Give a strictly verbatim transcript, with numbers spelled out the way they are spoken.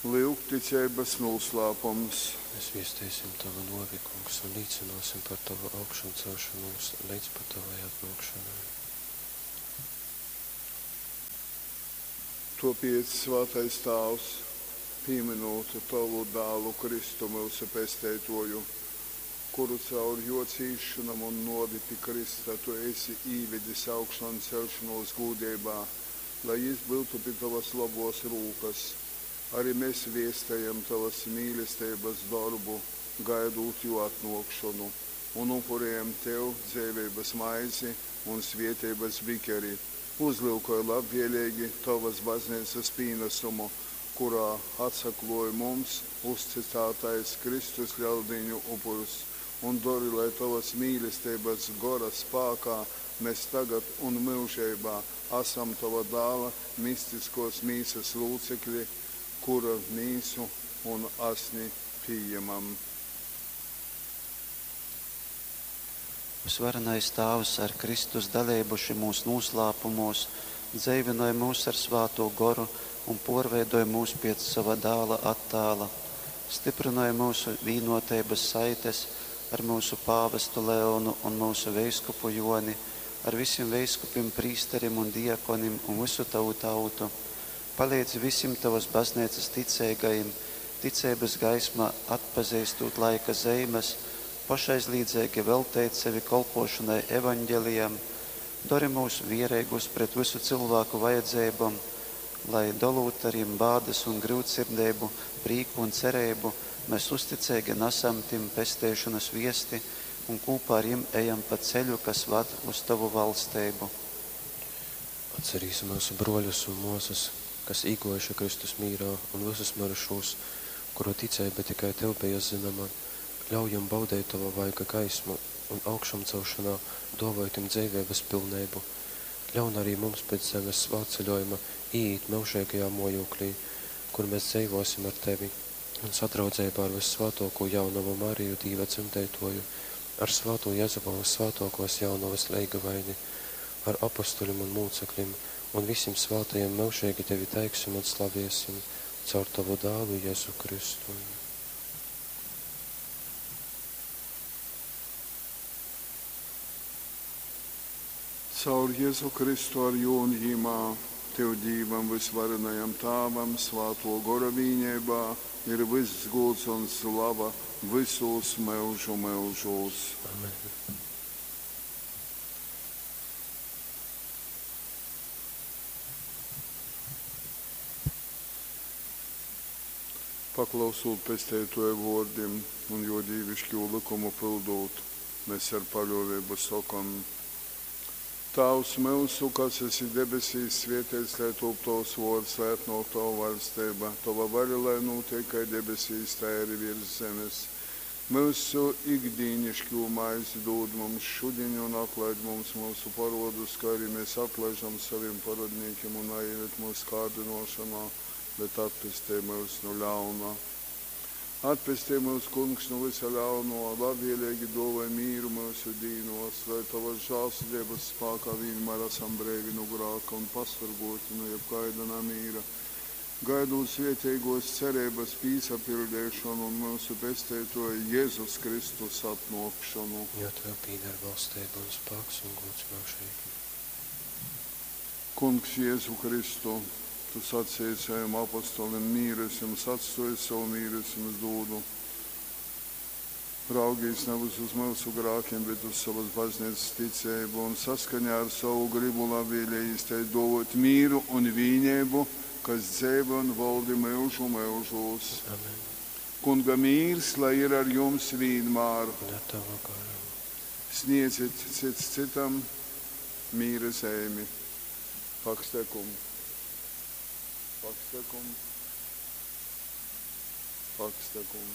Lyugticeibas nūslāpums. Mēs viesteisim Tavu nuovi, Kungs, un līcynōsim par Tovu augšamcelšonūs leidz pat Tovai atnōkšonai. Tuopiec, svātais Tāvs, pīmynūt Tovu Dālu Kristu, myusu Pesteituoju, kuru caur juo cīsšonom un nuovi pi krysta tu esi īvedis augšanceļšonuos gūdeibā, lai jis byutu pi tovys lobuos rūkys, ari mes viestejam tovys mīlesteibys dorbu, gaidūt juo atnuokšonu, un upurejam tev dzeiveibys maizi un svieteibys bikeri. Uzlyukoj labvieleigi tovys bazneicys pīnasumu, kurā atsakluoj mums uztycātais Kristus Leldīņu upurs, un dori, lai tovys mīlesteibys Gora spākā mes tagad un myužeibā asam tova Dāla mistiskuos mīsys lūcekli, kura mīsu un asni pījamam. Vysvarenais Tāvs, ar Kristus daleibu šymūs nūslāpumūs, dzeivynoj myus ar Svātū Goru un pōrveidoj myus pēc sova Dāla attāla. Styprynoj myusu vīnōteibas saites ar myusu pāvestu Leonu un myusu veiskupu Jōni, ar visim veiskupim, prīsterim un diakonim un vysu tovu tautu. Paleidzi visim tovas bazneicas ticeigajim, ticeibas gaismā atpazeistūt laika zeimes, pošaizlīdzeigi velteit sevi kolpōšonai Evaņgelijam. Dori myus viereigus pret vysu cylvāku vajadzeibom, lai, dolūt ar jim bādas un gryutsirdeibu, prīku un cereibu, mēs uzticeigi nasam tim pesteišonas viesti un kūpā ar jim ejam pa ceļu, kas vad uz tovu valsteibu. Atcerīsim myusu bruoļus un muosys, kas īguojuši Kristus mīrā, un vysus myrušūs, kuru ticeiba tikai Tev beja zynoma. Ļauj jim baudeit Tova vaiga gaismu un augšamcelšonā duovoj tim dzeiveibys pilneibu. Ļaun arī mums pēc zemes svātceļuojuma īīt myužeigajā muojūklī, kur mēs dzeivuosim ar Tevi un sadraudzeibā ar vyssvātuokū jaunovu Mariju, Dīva dzemdeituoju, ar svātū Jezupu vyssvātuokuos jaunovys leigavaini, ar apostolim un mūceklim un visim svātajim myužeigi Tevi teiksim un slaviesim caur Tovu Dālu Jezu Kristu. Caur Jezu Kristu ar jū un jimā, Tev, Dīvam vysvarenajam Tāvam, Svātuo Gora vīneibā ir vyss gūds un slava vysūs myužu myužūs. Amen. Paklausūt Pesteituoja vuordim un juo dīviškū lykumu pyldūt, mes ar paļuoveibu sokom, Tāvs myusu, kas esi debesīs, svieteits lai tūp tovs vuords, lai atnuok tova vaļsteiba, tova vaļa lai nūteik kai debesīs, tai ari viers zemes. Myusu ikdīniškū maizi dūd mums šudiņ un atlaid mums myusu poruodus, kai arī mēs atlaižam sovim porodnīkim, un naīved myus kārdinošonā, bet atpestej myus nu ļauna. Atpestej myus, Kungs, nu vysa ļaunuo, labvieleigi duovoj mīru myusu dīnuos, lai tovys žālsirdeibys spākā vīnmār asam breivi nu grāka un pasorguoti nu jebkaida namīra, gaidūt svieteiguos cereibys pīsapiļdeišonu un myusu Pesteituoja Jezus Kristus atnuokšonu. Jo Tev pīdar valsteiba un spāks un gūds myužeigi. Kungs Jezu Kristu, tu saceji sovim apostolim: Mīru es jums atstuoju, sovu mīru es jums dūdu. Raugīs navys uz myusu grākim, bet uz sovys bazneicys ticeibu un saskaņā ar sovu grybu labvieleigi tai duovuot mīru un vīneibu, kas dzeivoj un voldi myužu myužūs. Amen. Kunga mīrs lai ir ar jums vīnmār. Un ar Tavu garu. Sniedzit cits cytam mīra zeimi. Pax tecum. Pax tecum. Pax tecum.